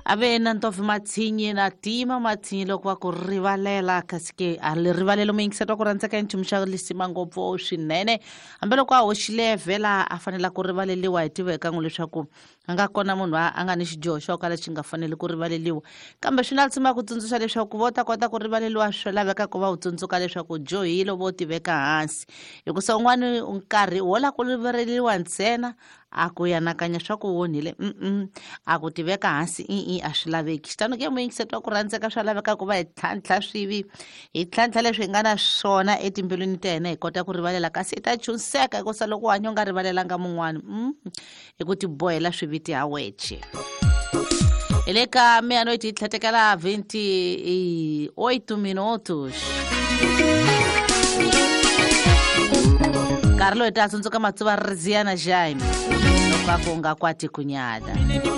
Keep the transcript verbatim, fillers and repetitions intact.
Ave na ntofi matsinyi na tima matsinyi loko va ku rivalela kasi ke a le rivalelo muyingiseti wa ku rhandzeka i nchumu xa lisima ngopfu swinene hambiloko a hoxile vhela a fanela ku rivaleliwa hi tiva eka n'wi leswaku a nga kona munhu a nga ni xidyoho xo kala xi nga faneli ku rivaleliwa kambe swi na lisima ku tsundzuxa leswaku vo ta kota ku rivaleliwa swi laveka ku va u tsundzuka leswaku dyohile vo tiveka hansi hikusa un'wani nkarhi wo la ku rivaleliwa ntsena a ku yanakanya swa ku onhile mm a ku tiveka hansi i a swi laveki xitano ke muyingiseti wa ku rhandzeka swa laveka ku va hi tlhantlha swivi hi tlhantlha leswi hi nga na swona etimbilwini ta hina hi kota ku rivalela kasi hi ta chunseka hikusa loko u hanya u nga rivalelanga mun'wani mm hi ku tibohela swiviti ha weche hi le ka meia-noite hi tlhetekela vinte e oito minutos nkarhi loyi ta tsundzuka matsuva riziana jaime loko a ku nga kwati kunyada.